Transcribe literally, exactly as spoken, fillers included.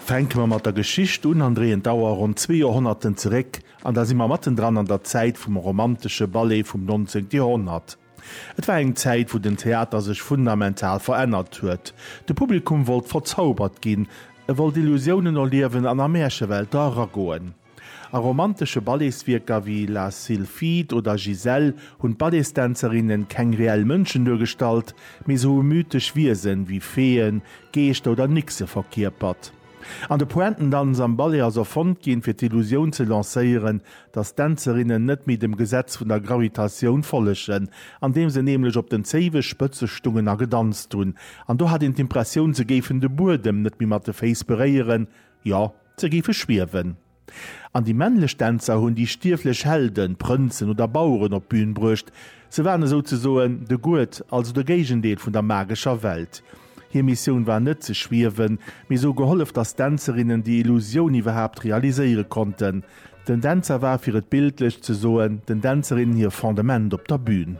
Fänke mer mat der Geschicht un an dréien d'Auer ronn zwee Joerhonnerten zeréck, an da si mer mattendran an der Zäit vum romantesche Ballet vum nonzéngte Joerhonnert. Et war eng Zäit, wou den Theater sech fundamental verännert huet. De Publikum wollt verzaubert ginn, e wollt Illusiounen erliewen an a Märchewelter eragoen. A romantesche Balletswierker wéi La Sylphide oder Giselle hunn d'Balletsdänzerinnen keng reell Mënschen duergestallt, mee se hu mythesch Wiesen wéi Feeën, Geeschter oder Nixe verkierpert. An de Pointendanz am Ballet ass erfonnt ginn, fir d'Illusioun ze lancéieren, dass d'Dänzerinnen net méi dem Gesetz vun der Gravitatioun follegen, andeem se nämlech op den Zéiwespëtze stungen a gedanzt hunn. An do hat een d'Impressioun, se géifen de Buedem net méi mat de Féiss beréieren, jo, se géife schwiewen. An déi männlech Dänzer hunn déi stierflech Helden, Prënzen oder Baueren op d'Bün bruecht. Se waren esouzesoen de Gued, also de Géigendeel vun der magescher Welt. Hir Missioun war net ze schwiewen, mee se hu gehollef, dass d'Dänzerinnen déi Illusioun iwwerhaapt realiséiere konnten. Den Dänzer war, fir et bildlech ze soen, den Dänzerinnen hir Fondement op der Bün.